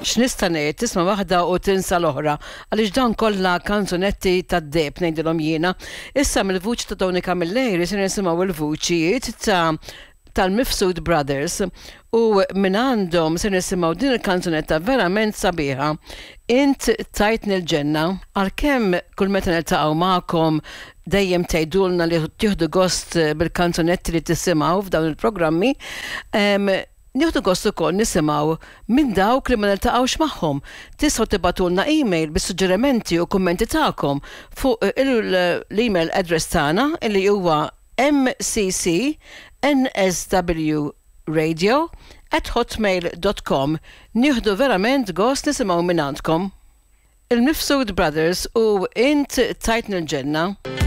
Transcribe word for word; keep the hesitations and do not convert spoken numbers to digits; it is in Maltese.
X'nista' ngħid, tisma' waħda u tinsa l-oħra, għaliex dan kollha kanzunetti tad-deheb ngħidilhom jiena. Issa mill-vuċi ta' Tony Camilleri se nisimgħu il-vuċijiet ta' tal-Mifsud Brothers u minn għandhom se nisimgħu din il-kanzunetta verament sabiħa. Int tajtni l-ġenna, għalkemm kull meta niltaqgħu magħkom dejjem tgħidulna li tieħdu gost bil-kanzunetti li tisimgħu f'dawn il-programmi, nieħdu gost ukoll nisimgħu minn dawk li ma niltaqgħux magħhom. Tistgħu tibagħtulna email bis-suġġerimenti u kummenti tagħkom fuq l-email address tagħna li huwa mccnsw radio at hotmail dot com. Nieħdu verament gost nisimgħu minn għandkom. Il-Mifsud Brothers u Int tajtni l-ġenna.